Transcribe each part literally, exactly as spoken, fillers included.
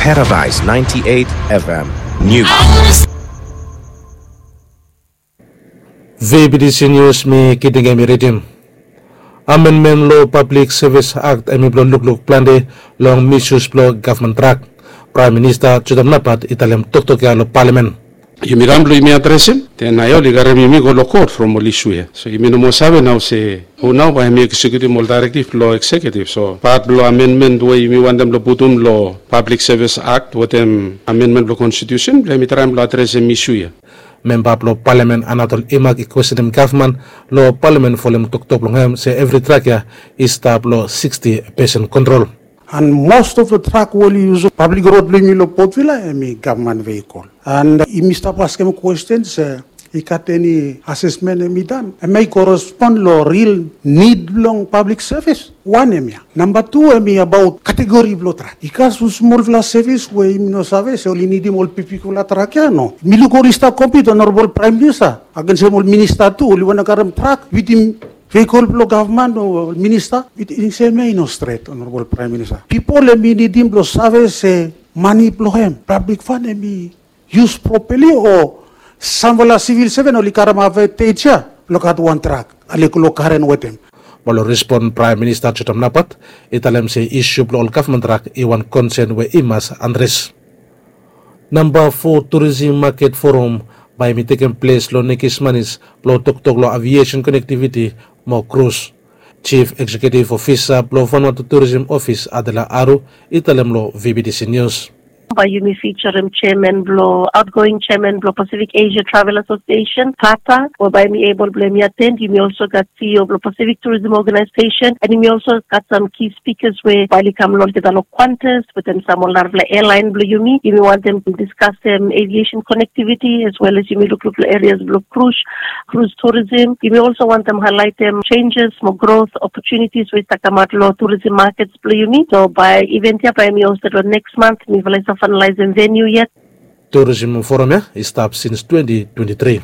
Paradise ninety-eight F M News. V B T C News mi Kitingem i ridim. Amendment lo Public Service Act hemi blo lukluk plante long misuse blo gavman trak. Praem Minista Judam Napat i talem toktok ya lo palamen. Yumi kam blo yumi adresem, then nao oli karem yumi go lo kot from ol isu ya. So yumi no moa save nao se hu nao bae hemi eksekiutim ol daerektif blo eksekiutif. So pat blo amendment we yumi wantem blo putum lo Public Service Act wetem amendment blo konstitusen blo hemi traem blo adresem isu ya. Memba blo palamen Anatol Imak i kwestenem gavman lo palamen folem toktok blong hem se evri trak ya i stap lo sixty percent kontrol. And most of the truck we oli yusum pablik rod blong yumi lo Port Vila hemi gavman veikol. And yumi stap askem kwesten se i gat eni asesmen hemi dan, hemi korespon lo ril nid blong pablik sevis? Wan hemia. Namba tu hemi abaot kategori blo trak. I gat sam smolfala sevis we yumi no save se oli nidim ol bigbigfala trak ya, no? Mi luk oli stap kompit, Onorabol Praem Minista, agensem ol minista tu oli wantem karem trak wetem veikol blo gavman o minista. Wetem sem ya i no stret, Onorabol Praem Minista. Pipol hemi nidim blo save se mane blo hem, pablik fan, hemi yus propali o samfala sivil seven oli karem advantage ya blo gat wan trak, oli go lo karen wetem. Mo lo respon Praem Minista Judam Napat i talem se isu blo ol gavman trak i wan konsen we i mas adres. Namba fo Tourism Market Forum bae hemi tekem ples lo Nekis Manis blo toktok lo aviesen konektiviti mo krus. Jif Eksekiutif Ofisa blo Vanuatu Tourism Ofis, Adela Aru, i talem lo V B T C Nius. Bae yumi fijarem jeaman blo, aotgoing jeaman blo Pacific Asia Travel Association, pata, we bae hemi ebol blo hemi aten. Yumi olso gat C E O blo Pacific Tourism Organization, and yumi olso gat sam ki spikas we bae oli kam lo olgeta lo Qantas wetem sam ol narafala airline blo yumi. Yumi wantem diskasem aviation connectivity as well as yumi lukluk lo areas blo krus, krus tourism. Yumi olso wantem haelaetem jenjes mo growth opportunities we i stap kamaot lo tourism markets blo yumi. So bae event ya bae hemi hosted lo next month. Mifala i stap finalize venue yet. Tourism Forum ya i stap since twenty twenty-three.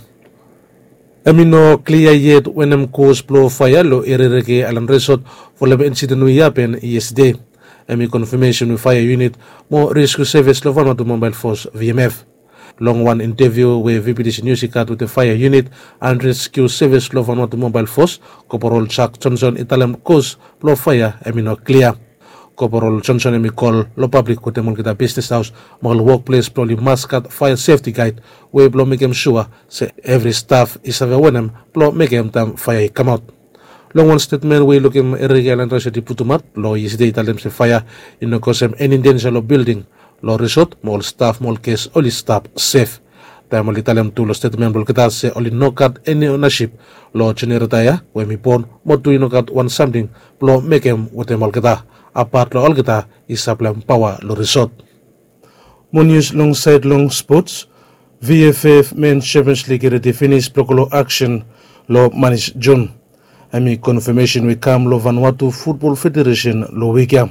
Hemi no klia yet wanem kos blo faea lo Ereereke Aelan Resot folem insiden we i hapen yestede. Hemi konfamesen we faea unit mo reskiu sevis lo Vanuatu Mobael Fos, V M F. Long wan inteviu we V B T C Nius i gat wetem faea unit and reskiu sevis lo Vanuatu Mobael Fos, Koporol Jack Johnson i talem kos blo faea hemi no klia. Koporol Johnson hemi kol lo pablik wetem olgeta bisnes haos mo ol wokples blo oli mas gat faea sefti gaed we blo mekem sua se evri staf i save wanem blo mekem taem faea i kamaot. Long wan stetmen we i lukim Ereereke Aelan Resot i putum aot lo yestede, i talem se faea i no kosem eni denja lo bilding, lo resot mo ol staf mo ol ges oli stap sef. Taem oli talem tu lo stetmen blo olgeta se oli no gat eni onasip lo jenereta ya we hemi bon, mo tu i no gat wan samting blo mekem wetem olgeta, apat lo olgeta i saplaem paoa lo resot. Mo nius long saed long spots. V F F Men Champions League i redi finis blo go lo aksen lo manis Jun. Hemi konfamesen we i kam lo Vanuatu Futbol Federesen lo wik ya.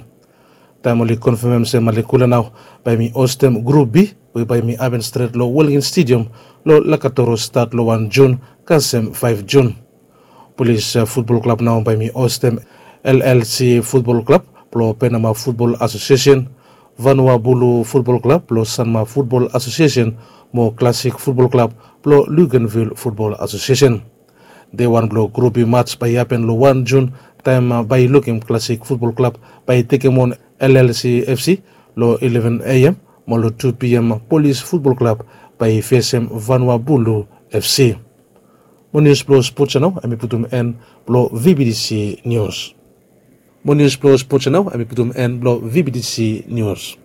Taem oli konfamem se Malekula nao bae hemi hostem Grup B we bae hemi hapen stret lo Wellington Stadium lo Lakatoro stat lo wan Jun kasem faef Jun. Polis, eh, Futbol Klab nao bae hemi hostem L L C Futbol Klab blo Penama Futbol Asosiesen, Vanua Bulu Futbol Klab blo Sanma Futbol Asosiesen, mo Klasik Futbol Klab blo Luganville Futbol Asosiesen. Dei wan blo Grup B mats bae i hapen lo wan Jun, taem, ah, bae i lukim Klasik Futbol Klab bae i tekem on L L C F C lo eleven A M, mo lo two P M Polis Futbol Klab bae i fesem Vanua Bulu F C. Mo nius blo spots ya nao hemi putum en blo V B T C Nius. Mo nius blo spots ya nao hemi putum en blo V B T C Nius.